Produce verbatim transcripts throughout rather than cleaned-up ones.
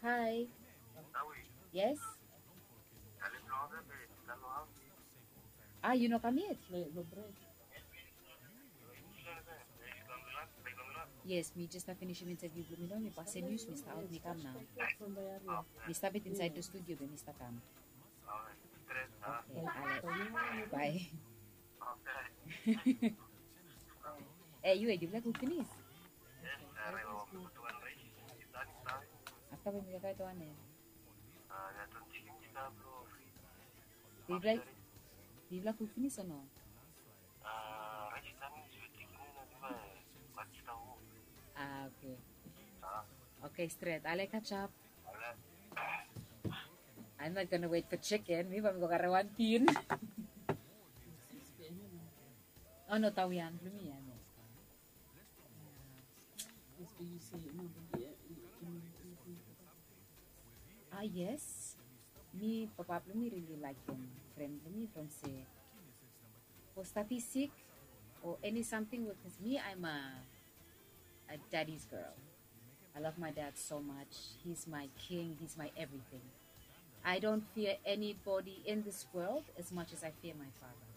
Hi. Yes. Ah, yu no kam yet? Yes, mi jes stap finisim interview blong mi nao, mi pasim nius, mi stap aot, mi kam nao. Mi stap yet insaed long studio be mi stap kam. Oke, ale. Bae. E, yu, e, yufala kuk finis? Afta bae mi go kae wan, e. Yufala, yufala kuk finis o no? Ah, oke. Oke, stret. Ale, kachap. I'm not gonna wait for chicken. Mi bae mi go karem wan tin. O no, tawian blong mi ya, no. Ah, yes. Mi, papa blong mi rili laekem fren blong mi from se fo stati sik o eni samting we, bikos mi, I'm a, a daddy's girl. I love my dad so much. He's my king. He's my everything. I don't fear anybody in this world as much as I fear my father.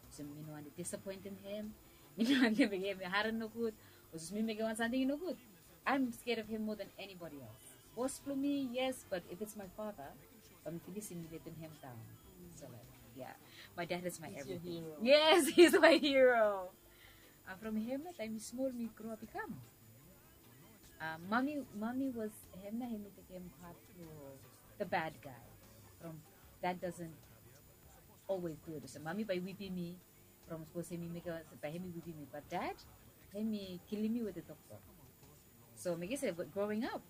So mi no wantem disapoentem hem. Mi no wantem mekem hem i harem nogud. O sapos mi mekem wan samting i nogud, I'm scared of him more than anybody else. Bos blong mi, yes, but if it's my father, bae mi finisim mi letem hem daon. So, like, yeah, my dad is my everything. Yes, he's my hero. Ah, from hem nao, taem mi smol, mi grow up i kam. Ah, mami, mami was, hem nao, hem i tekem part blong the bad guy. From dad doesn't always good. So mami bae i wipim mi from sapos hem i mekem, bae hem i wipim mi. But dad, hem i kilim mi wetem toktok. So mekem se growing up,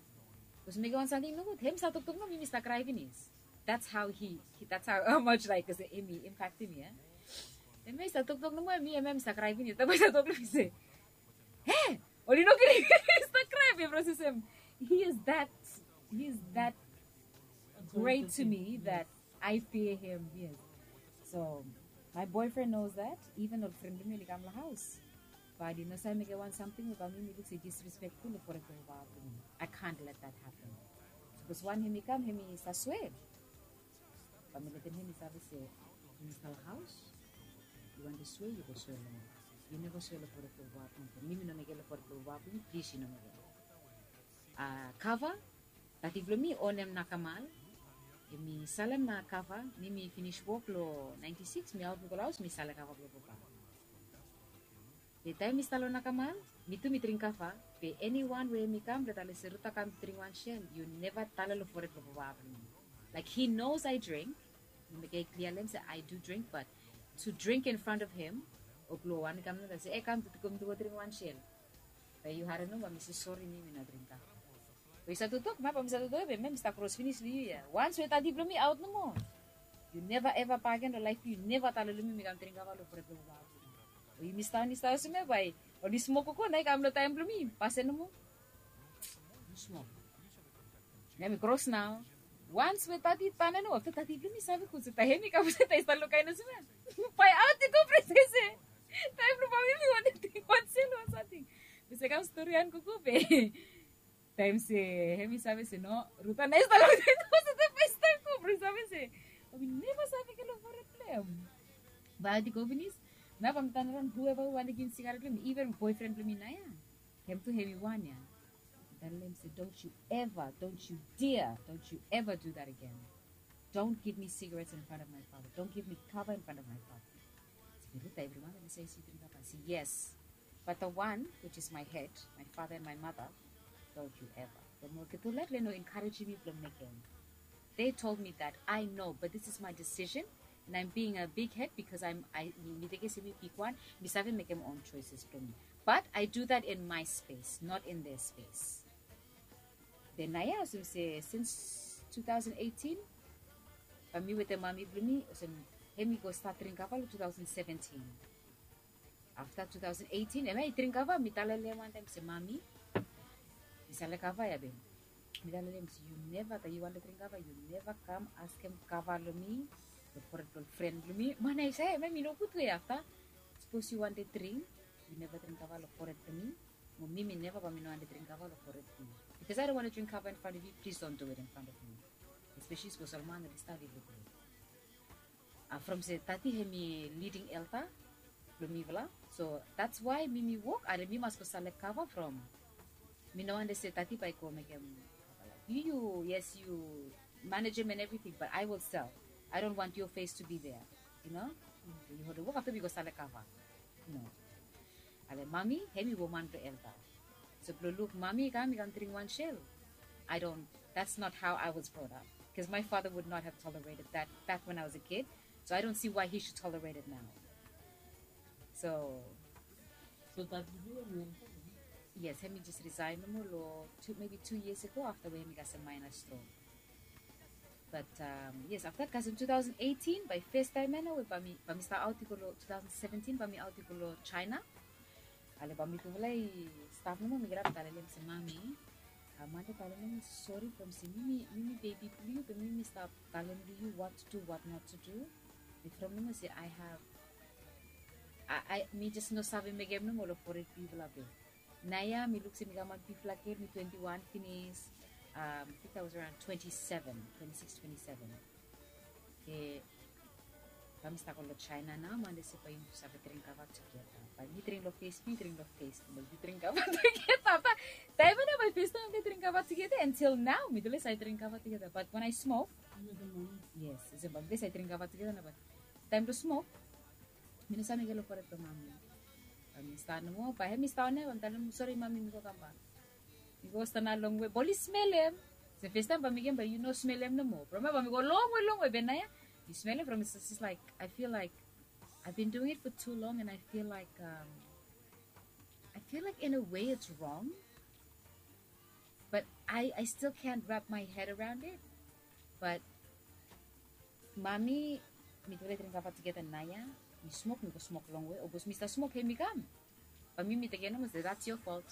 sapos mekem wan samting nogud, hem i stap toktok nomo, mi, mi stap krae finis. That's how he, he, that's how, how much, like, se hem i impaktem mi, e. Hem i stap toktok nomo, mi, hem, hem i stap krae finis. Taem bae i stap tok long mi se, "He, oli no gri." Stap krae be from se, he is that, he is that great to me that I fear him, yes. So my boyfriend knows that, even ol fren blong mi oli kam long haos, bae oli no save mekem wan samting we bae mi, mi luk se disrespectful long fored blong papa blong mi. I can't let that happen. Sapos wan hem i kam, hem i save swea, bae mi letem hem i save se, yu stap long haos, yu wantem swea, yu go swea long mi. Yu neva swea long fored blong papa blong mi. Mi, mi no mekem long fored blong papa blong mi, plis yu no mekem. Ah, kava, tati blong mi onem nakamal. Hem i salem na kava, mi, mi finis wok long ninety-six, mi aot mi go long haos, mi salem kava blong papa. Be taem mi stap long nakamal, mi tu mi dring kava. Be eniwan we hem i kam, blong talem se Ruta kam dring wan sel, yu neva talem long fored blong papa blong mi. Like, he knows I drink. Mi mekem klia long hem se I do drink, but to drink in front of him, o blong wan i kam nao se, "E, kam, Titi, kam, Titi, go dring wan sel." Bae yu harem nomo, bae mi se, "Sori, mi, mi no dring kava." Bae yu stap toktok, mi bae mi stap toktok, be mi, mi stap kros finis long yu ya. Once we tati blong mi aot nomo, yu neva eva bagen long laef blong yu, yu neva talem long mi mi kam dring kava long fored blong papa blong mi. O yumi stap, yumi stap olsem ya, bae oli smok gogo, nao i kam long taem blong mi, fasin nomo. Nao mi kros nao. Once we tati tan ya nao, afta tati blong mi save gud se taem hem i kam, se taem i stap luk kaen olsem ya, bae aot i go, from se, taem blong famili, mi wantem dring wan sel o wan samting. Mi se kam storian gogo be. Taem se hem i save se no, Ruta nao i stap long taem, se taem i stap go, from save se, o, mi neva save mekem long fored blong hem. Bae aot i go finis. Nao bae mi tanaraon, whoever we wantem givim sigaret blong mi, even boyfriend blong mi nao ya, hem tu hem i wan ya. Mi talem se, "Don't you ever, don't you dare, don't you ever do that again. Don't give me cigarettes in front of my father. Don't give me kava in front of my father." Se, "Ruta, evri manta mi save se yu dring kava." I se, "Yes. But the one, which is my head, my father and my mother, don't you ever." Be mi olgeta laef oli no encouragem mi blong mekem. They told me that I know, but this is my decision, and I'm being a big head because I'm, I, mi, mi tekem se mi bigwan, mi save mekem own choices blong mi. But I do that in my space, not in their space. Be naoia olsem se since two thousand eighteen, bae mi wetem mami blong mi, olsem, hem i go stat dring kava long two thousand seventeen. Afta two thousand eighteen, hemia i dring kava, mi talem long hem wan taem se, "Mami, mi salem kava ya be." Mi talem long hem se, "Yu neva, taem yu wantem dring kava, yu neva kam askem kava long mi, long fored blong fren blong mi." Mami i se, "Hemia i no gud we afta sapos yu wantem dring, yu neva dring kava long fored blong mi. Mo mi, mi neva, bae mi no wantem dring kava long fored blong yu." Because I don't want to drink kava in front of you, please don't do it in front of me. Especially sapos ol man oli stap lukluk. Uh, from se tati hemi leading elder blo mifala. So that's why mi mi wok, ale mi mas go selek kava from. Mi no wante se tati bae i go mekem. Yu, yu, yes, yu manage him and everything, but I will sell. I don't want your face to be there, you know? Yu holem wok afta mi go selek kava. No. Ale mami, hemi woman blo elder. So blo luk mami i kam, i kam dring wan sel. I don't, that's not how I was brought up. Because my father would not have tolerated that back when I was a kid. So I don't see why he should tolerate it now. So, so tati blo yu hemi elder? Yes, hemi just resign nomo lo two, maybe two years ago afta we hemi kasem minor stroke. But um, yes, afta kasem two thousand eighteen, bae fes taem ia nao we bae mi, bae mi stap aot i go lo two thousand seventeen, bae mi aot i go lo China. Ale bae mitufala i stap nomo, mi kirap talem se mami, a, mande talem nomo sori from se mi mi, mi mi bebi blo yu, be mi mi stap talem lo yu what to do, what not to do. Be from nomo se I have, a, a, mi just no save mekem nomo lo fored blo yufala be. Naoia mi luk se mi kam wan bigfala gel, mi twenty-one finis. Um, I think I was around twenty-seven, twenty-six, twenty-seven. Be bae mi stap go lo China nao, mande se bae yumi save dring kava tugeta. Bae mi dring lo fes blo yu, dring lo fes blo mi, yu dring kava tugeta. Bae taem ia nao bae fes taem mi dring kava tugeta, until nao mi dele save dring kava tugeta. But when I smoke, yes, olsem bae mi dele save dring kava tugeta nao, but taem blo smok, mi no save mekem lo fored blo mami. Bae mi stap nomo, bae hemi stap nomo, bae mi talem, sori mami, mi go kambak. Mi go stap nao longwe, bae oli smelem. Se fes taem bae mi mekem bae yu no smelem nomo. From ia bae mi go longwe, longwe, be naoia mi smelem from, it's just like, I feel like I've been doing it for too long and I feel like, um, I feel like in a way it's wrong. But I, I still can't wrap my head around it. But mami, mitufala i dring kava tugeta naoia, mi smok, mi go smok longwe, o sapos mi stap smok, hemi kam. Bae mi mi tekem nomo se, that's your fault.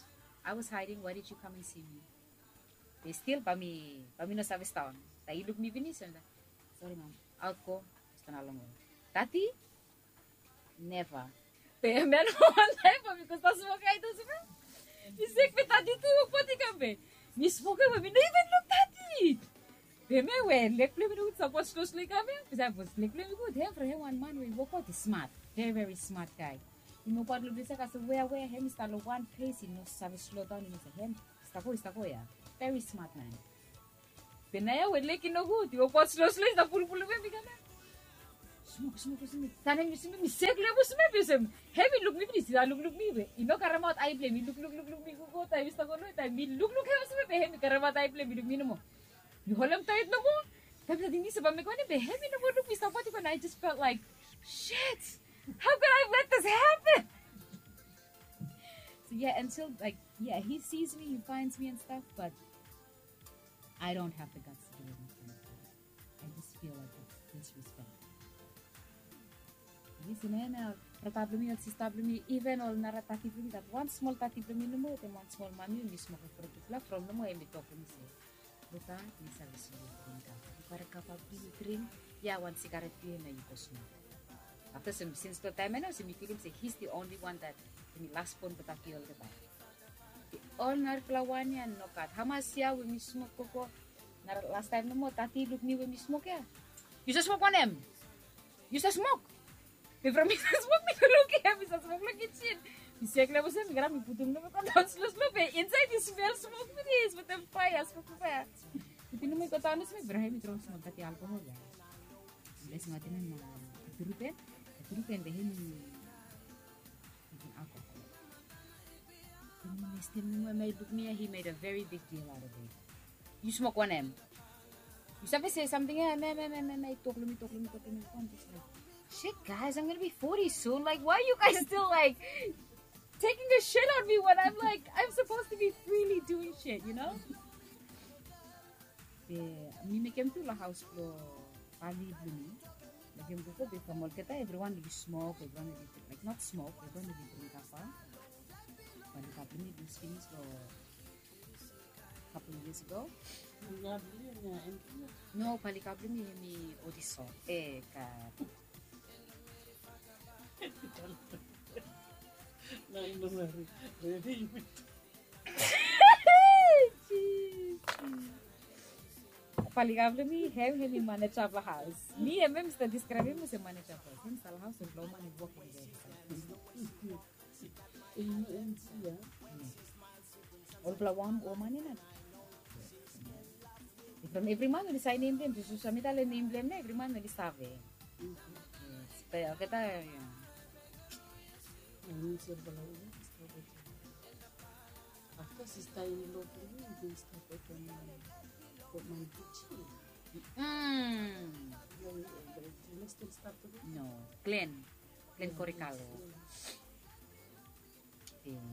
I was hiding, why did you come and see me? Be still bae mi, bae mi no save stap on. Taem i luk mi finis, hemi talem, sori mami, aot go, stap nao longwe. Tati, never. Be hemia nao wan taem bae mi go stap smok ia tu olsem ia. Mi sek be tati tu i wokbaot i kam be. Mi smok ia be mi no even luk tati. Be hemia we leg blo hem i no gud, sapos slo slo i kam ia. Be sapos leg blo hem i gud, hem from hem wan man we i wokbaot i smart. Very, very smart guy. I wokbaot lo ples ia, kasem wea, wea, hem i stap lo wan ples, i no save slow down, i no save, hem i stap go, i stap go ia. Very smart man. Be naoia we leg i no gud, i wokbaot slo slo, i stap pulupulum hem i kam ia. Smok, smok, smok. Taem mi smok, mi sek lo hem olsem ia, be olsem hem i luk mi finis, i lukluk mi be i no karemaot ae blo hem, i lukluk, lukluk mi gogo, taem mi stap go lo, taem mi lukluk hem olsem ia, be hem i karemaot ae blo hem, i luk mi nomo. Mi holem taet nomo. Taem mi save ting se bae mi mekem wanem, be hem i no moa luk mi, i stap wokbaot i go, and I just felt like, shit, how could I let this happen? So yeah, until, like, yeah, he sees me, he finds me and stuff, but I don't have the guts to do anything. I just feel like it's disrespect. Yes, and then, uh, brata blo mi, ol sista blo mi, even ol nara tati blo mi, that wan smol tati blo mi nomo, wetem wan smol mami, mi smok lo fored blo tufala, from nomo hemi tok lo mi se, Luta, mi save se yu dring kava. Yu karem kava blo yu dring, ia wan sigaret blo yu nao yu go smok. Afta olsem, sins lo taem ia nao, olsem mi filim se he's the only one that, hemi las bon blo tati olgeta. Be ol narafala wan ia nogat. Hamas ia we mi smok gogo, nara las taem nomo, tati i luk mi we mi smok ia. Yu save smok wanem? Yu save smok? Be from mi save smok, mi go luk ia, mi save smok lo kitchen. Mi sek lo hem olsem, mi kirap mi putum nomo, mi go daon slo slo, be insaed i smel smok finis wetem faea, smok faea. Putum nomo i go daon olsem, be hemi drom smol tati alkohol ia. Be smol tati nomo, a, Turupen, a, Turupen be hemi Drinking alcohol. Then mi stil, mi, mi luk, mi, he made a very big deal out of it. Yu smok wanem? Yu save se samting ia, me, me, me, me, me, tok lo mi, tok lo mi, tok lo mi. I'm just like, shit, guys, I'm gonna be forty soon. Like, why are you guys still, like, taking a shit on me when I'm, like, I'm supposed to be freely doing shit, you know? Be mi mekem tu lo haos blo pali blo mi. Mekem gogo be from olgeta evriwan oli smok, evriwan oli, like, not smok, evriwan oli dring kava. Pali kava blo mi lus finis lo couple years ago. No, pali kava blo mi hemi odiso. E, God. Nai no mari. Redi. Paliga blong mi, hem, hem i maneja blong haos. Mi, hem, hem i stap deskraebem mi olsem maneja blong haos. Hem i stap long haos, olgeta woman i wokim. Olgeta woman, woman i nat. From evri man oli save nem blong hem, so, so, so mi talem nem blong hem, evri man oli save. Yes, be olgeta, ya. Afta sista in lo blong mi i bin stap wetem, um, Glenn Korikalo.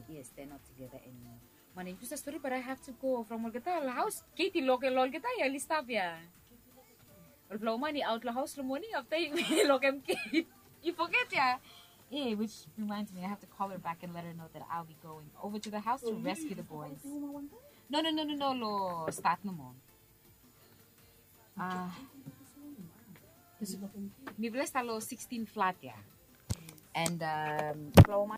Yes, they're not together anymore. Mani, yu sa stori, but I have to go. From olgeta haos, Kate i lokem olgeta ya, oli stap ya. Olgeta woman i aot long haos long moning, afta i lokem Kate. I foget ya. Eh, which reminds me, I have to call her back and let her know that I'll be going over to the house to rescue the boys. No, no, no, no, no, long stat nomo. Ah, mifala i stap long sixteen flat ya. And, um, olgeta woman